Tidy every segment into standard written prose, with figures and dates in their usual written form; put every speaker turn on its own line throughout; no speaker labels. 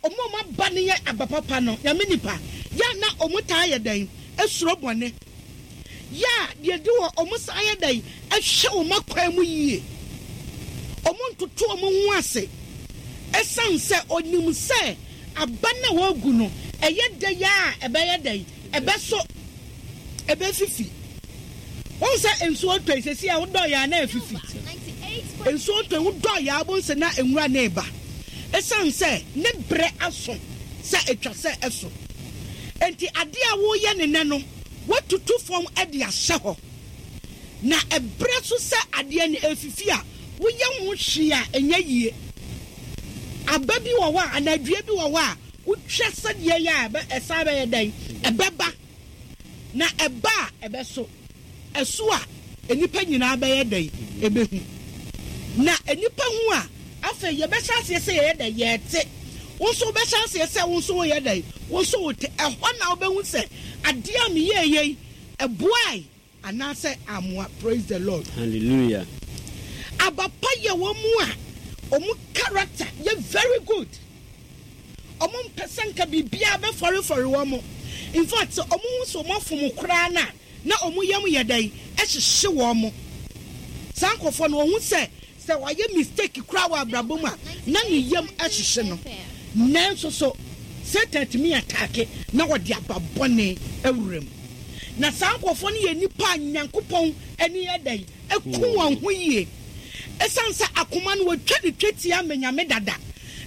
Wɔn a wɔn aba no yɛ aba papa no, Nyame nipa, yɛ a na wɔn taa yɛ dɛn? Suro bɔne. Yɛ a deɛ ɛdi hɔ, wɔn san yɛ dɛn? Hwɛ wɔn akwan mu yie. Wɔn ntoto wɔn ho ase. Ɛsiane sɛ wɔnim sɛ aba no a wɔregu no, ɛyɛ dɛ a ɛbɛyɛ dɛn? Ɛbɛso. Ɛbɛfifi. Wohu sɛ nsuo tɔ yi, seesei a wodɔ yɛ a na afifi. Nsuo tɔ yi, wodɔ yɛ a wobɛhu sɛ na nwura no reba. Ɛsiane sɛ ne berɛ aso sɛ ɛtwa sɛ ɛso. Enti adeɛ a woreyɛ no nnɛ no, woatutu fam de ahyɛ hɔ. Na ɛberɛ so sɛ adeɛ no ɛrefifi a, woyɛ ho hwee a ɛnyɛ yie. Aba bi wɔ hɔ a, anaa dua bi wɔ hɔ a, wotwa sɛdeɛ ɛyɛ a, ɛsan bɛyɛ dɛn? Ɛbɛba. Na ɛba a, ɛbɛso. Ɛso a, nnipa nyinaa bɛyɛ dɛn? Ɛbɛhu. Na nnipa hu a, afei yɛbɛhyɛ aseɛ sɛ yɛyɛ dɛn? Yɛte. Wo nso wobɛhyɛ aseɛ sɛ wo nso woyɛ dɛn? Wo nso wote. Ɛhɔ na wobɛhu sɛ adeɛ a meyɛeɛ yi, ɛboae anaasɛ ammoa. Praise the Lord.
Hallelujah.
Aba pa yɛ wɔn a wɔn character yɛ very good. Wɔn mpɛ sɛ nka biribiara bɛfɔrefɔre wɔn. In fact, sɛ wɔn hu sɛ wɔn afom koraa no a, na wɔn yam yɛ dɛn? Ɛhyehye wɔn. Saa nkorɔfoɔ no, wɔhu sɛ, sɛ wɔayɛ mistake koraa wɔ abrabɔ mu a, na ne yam hyehye no. Nanso so Satan tumi ataake na ɔde aba bɔne awura mu? Na saa nkorɔfoɔ no yɛ nnipa a Nyankopɔn ani yɛ dɛn? Ku wɔn ho yie. Ɛsiane sɛ akoma no wɔatwa no twetia ama Nyame dada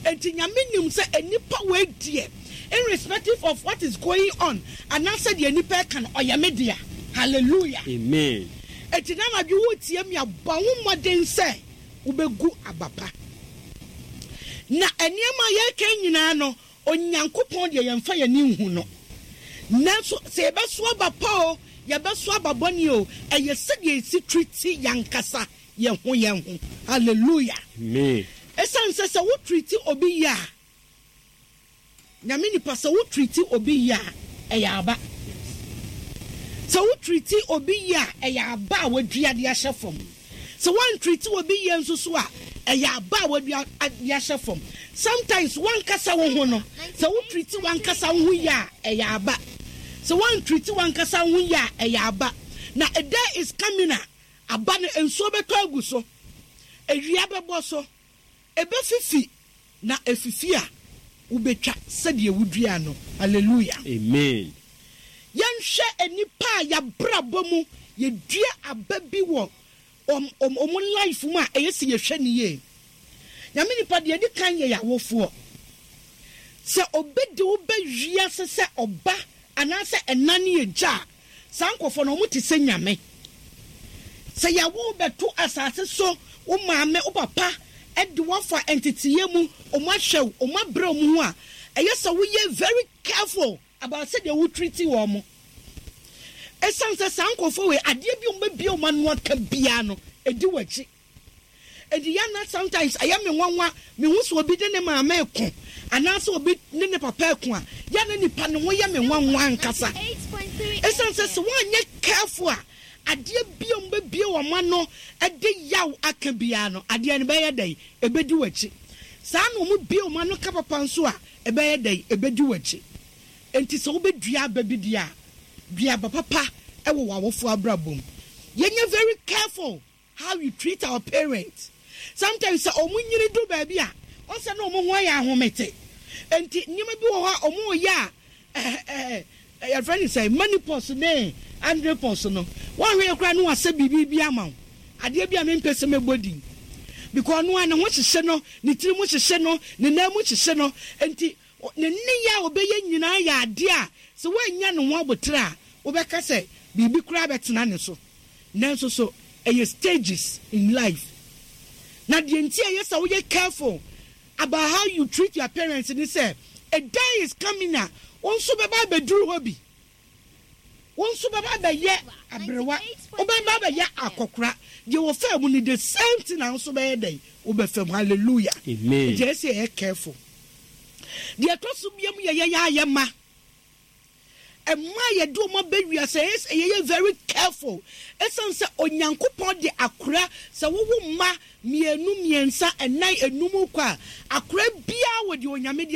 nti, Nyame nim sɛ nnipa wei deɛ, irrespective of what is going on anaasɛ deɛ nnipa ɛka no, ɔyɛ me dea. Hallelujah.
Amen.
Enti na anadwo woretie me a, bɔ wo mmɔden sɛ wobɛgu aba pa. Na nneɛma a yɛreka yi nyinaa no, Onyankopɔn deɛ yɛmfa yɛn ani nhu no. Nanso sɛ yɛbɛso aba pa oo, yɛbɛso aba bɔne oo, ɛyɛ sɛdeɛ yɛsi treati yɛn ankasa yɛn ho yɛn ho. Hallelujah.
Amen.
Ɛsiane sɛ sɛ wo treati obi yie a, Nyame nipa, sɛ wo treati obi yie a, ɛyɛ aba. Sɛ wo treati obi yie a, ɛyɛ aba a wadua de ahyɛ fam. Sɛ woantreati obi yie nso so a, ɛyɛ aba a wadua de ahyɛ fam. Sometimes w'ankasa wo ho no, sɛ wo treati w'ankasa wo ho yie a, ɛyɛ aba. Sɛ woantreati w'ankasa wo ho yie a, ɛyɛ aba. Na a day is coming a, aba no nsuo bɛtɔ agu so, awia bɛbɔ so, Ɛbɛfifi, na ɛfifi a, wobɛtwa sɛdeɛ woduaa no. Hallelujah.
Amen.
Yɛnhwɛ nnipa a yɛabrabɔ mu yɛdua aba bi wɔ wɔn wɔn life mu a ɛyɛ sɛ yɛhwɛ no yie. Nyame nipa deɛ ɛdi kan yɛ yɛawofoɔ. Sɛ obi de wo ba wiase sɛ ɔba anaasɛ ɛna ne agya a, Saa nkurɔfoɔ no, wɔte sɛ nyame. Sɛ yɛawo wo bɛto asase so, wo maame, wo papa de wo afa nteteeɛ mu, wɔahwɛ wo, wɔabrɛ wɔn ho a, ɛyɛ sɛ woyɛ very careful about sɛdeɛ wo treat wɔn. Ɛsiane sɛ saa nkurɔfoɔ wei, adeɛ bi a wɔbɛbue wɔn ano aka biara no, ɛdi w'akyi. Enti yɛ na sometimes ɛyɛ me nwanwa mehu sɛ obi ne ne maame reko anaasɛ obi ne ne papa reko a, yɛ na nipa no ho yɛ me nwanwa ankasa. Esiane sɛ sɛ woanyɛ careful a, adeɛ bi a wɔbɛbue wɔn ano de yaw aka biara no, adeɛ no bɛyɛ dɛn? Ɛbɛdi w'akyi. Saa na wɔbue wɔn ano ka papa nso a, ɛbɛyɛ dɛn? Ɛbɛdi w'akyi. Enti sɛ wobɛdua aba bi deɛ a, dua aba papa wɔ w'awofoɔ abrabɔ mu. Yɛnyɛ very careful. How we treat our parents sometimes sɛ ɔmo nyini du baabi a wɔn sɛ na ɔmo ho ayɛ ahomete nti nneɛma bi wɔ hɔ a ɔmo yɛ a ɛɛ ɛɛ yɛfrɛ no sɛ menopause ne andropause no wɔn hwɛ koraa no wasɛ biribi bi ama wo adeɛ bi a mempɛ sɛ mɛbɔ din because ɔno a ne ho hyehye no ne tiri mu hyehye no ne nan mu hyehye no nti Ne nneyɛe a ɔbɛyɛ nyinaa yɛ ade a sɛ woannya ne ho aboterɛ a, wobɛka sɛ biribi koraa bɛtena ne so. Nanso so ɛyɛ stages in life. Na deɛ nti a ɛyɛ sɛ woyɛ careful about how you treat your parents ne sɛ, a day is coming a wo nso bɛba abɛduru hɔ bi. Wo nso bɛba abɛyɛ aberewa, wobɛba abɛyɛ akɔkora. Deɛ wɔfaa mu no, the same thing na wo nso bɛyɛ dɛn? Wobɛfa mu. Hallelujah.
Amen.
Nti ɛyɛ sɛ yɛyɛ careful. Deɛ ɛtɔ so biam yɛ yɛyɛ ayɛ ma. Ɛma yɛde wɔn aba wiase, ɛyɛ sɛ yɛyɛ very careful. Ɛsiane sɛ Onyankopɔn de akora, sɛ wowo mma mmienu, mmiɛnsa, ɛnan, enum kɔ a, akora biara wɔ deɛ Onyame de.